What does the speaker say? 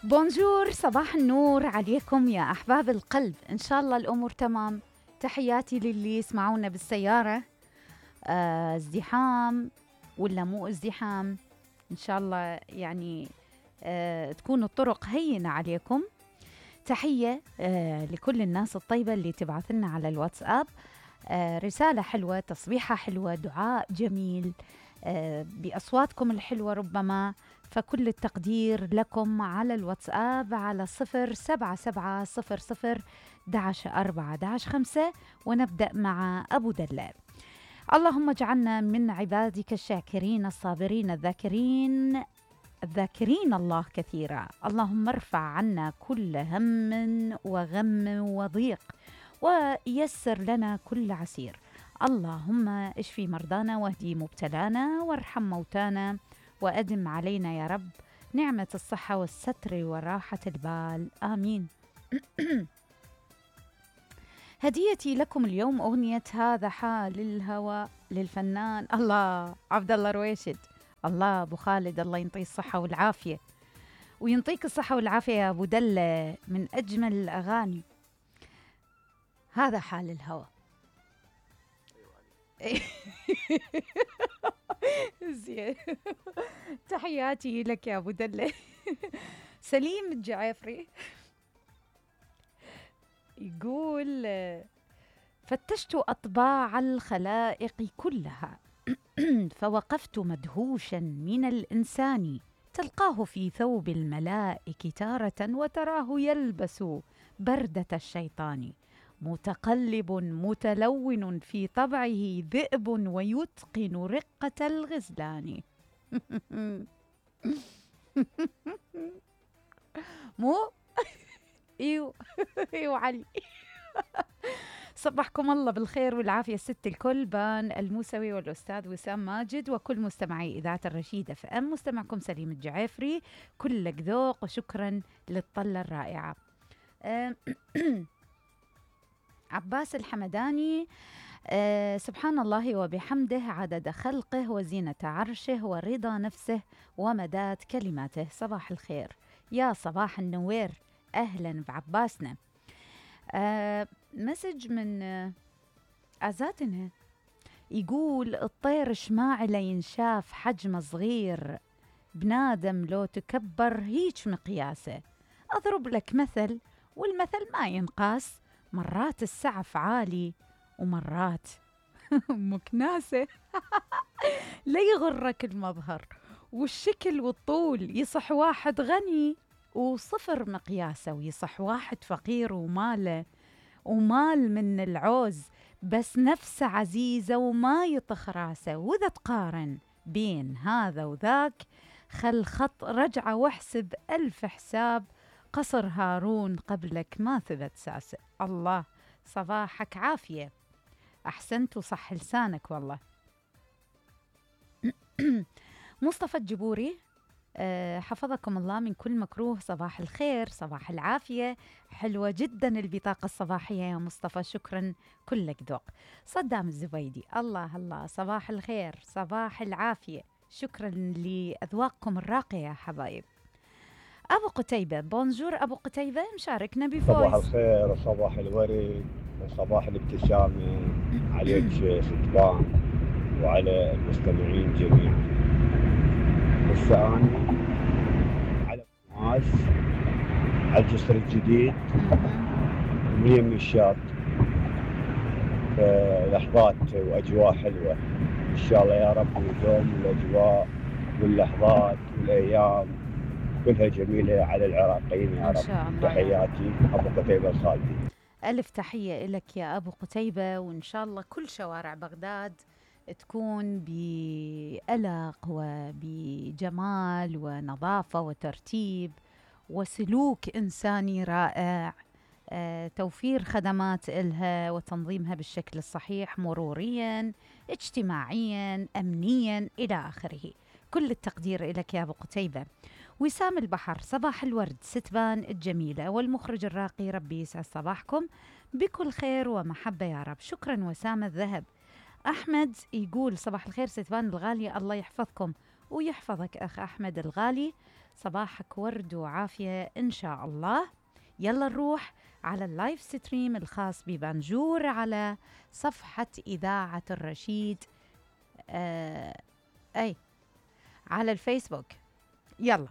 بونجور، صباح النور عليكم يا أحباب القلب. إن شاء الله الأمور تمام. تحياتي للي يسمعونا بالسيارة، ازدحام ولا مو ازدحام، إن شاء الله يعني تكون الطرق هينة عليكم. تحية لكل الناس الطيبة اللي تبعث لنا على الواتساب رسالة حلوة، تصبيحة حلوة، دعاء جميل بأصواتكم الحلوة ربما. فكل التقدير لكم على الواتساب على 0770011 ونبدأ مع أبو دلال. اللهم اجعلنا من عبادك الشاكرين الصابرين الذاكرين الله كثيرا. اللهم ارفع عنا كل هم وغم وضيق ويسر لنا كل عسير. اللهم اشفي مرضانا واهدي مبتلانا وارحم موتانا وأدم علينا يا رب نعمة الصحة والستر وراحة البال، آمين. هديتي لكم اليوم أغنية هذا حال الهوى للفنان الله عبد الله رويشد. الله أبو خالد، الله ينطيه الصحة والعافية وينطيك الصحة والعافية يا أبو دلة. من أجمل الأغاني هذا حال الهوى. زين، تحياتي لك يا أبو دلة. سليم الجعافري يقول فتشت أطباع الخلائق كلها فوقفت مدهوشا من الإنسان تلقاه في ثوب الملائك تارة وتراه يلبس بردة الشيطان متقلب متلون في طبعه ذئب ويتقن رقة الغزلان. مو ايوه ايوه علي. صبحكم الله بالخير والعافية ست الكل، بان الموسوي والأستاذ وسام ماجد وكل مستمعي إذاعة الرشيدة FM. مستمعكم سليم الجعافري، كلك ذوق وشكرا للطلة الرائعة. عباس الحمداني، سبحان الله وبحمده عدد خلقه وزينة عرشه ورضا نفسه ومداد كلماته. صباح الخير يا صباح النوير، أهلا بعباسنا. مسج من أزاتنا يقول الطير شماعي ينشاف حجمه صغير، بنادم لو تكبر هيج مقياسه. أضرب لك مثل والمثل ما ينقاس، مرات السعف عالي ومرات مكناسة. لا يغرك المظهر والشكل والطول، يصح واحد غني وصفر مقياسه، ويصح واحد فقير ومال من العوز بس نفسه عزيزة وما يطخ راسه. وإذا تقارن بين هذا وذاك خل خط رجعة واحسب 1000 حساب، قصر هارون قبلك ما ثبت ساسه. الله صباحك عافية، أحسنت وصح لسانك والله. مصطفى الجبوري، حفظكم الله من كل مكروه. صباح الخير، صباح العافية، حلوة جدا البطاقة الصباحية يا مصطفى، شكرا كلك ذوق. صدام الزبيدي، الله الله، صباح الخير، صباح العافية، شكرا لأذواقكم الراقية يا حبايب. أبو قتيبة، بونجور أبو قتيبة، مشاركنا بفويس. صباح الخير وصباح الورد وصباح الابتسامة عليك ستبان وعلى المستمعين جميعا. هسه أنا على ماس على الجسر الجديد من الشاط، لحظات وأجواء حلوة إن شاء الله يا رب، ويدوم الأجواء واللحظات والأيام كلها جميلة على العراقيين يا رب. تحياتي أبو قتيبة الخالدي. ألف تحية لك يا أبو قتيبة، وإن شاء الله كل شوارع بغداد تكون بألق وبجمال ونظافة وترتيب وسلوك إنساني رائع، توفير خدمات إلها وتنظيمها بالشكل الصحيح، مروريا اجتماعيا أمنيا إلى آخره. كل التقدير لك يا أبو قتيبة. وسام البحر، صباح الورد ستبان الجميلة والمخرج الراقي، ربي يسعد صباحكم بكل خير ومحبة يا رب. شكرا وسام الذهب. أحمد يقول صباح الخير ستبان الغالية، الله يحفظكم ويحفظك أخ أحمد الغالي. صباحك ورد وعافية إن شاء الله. يلا نروح على اللايف ستريم الخاص ببنجور على صفحة إذاعة الرشيد أي على الفيسبوك. يلا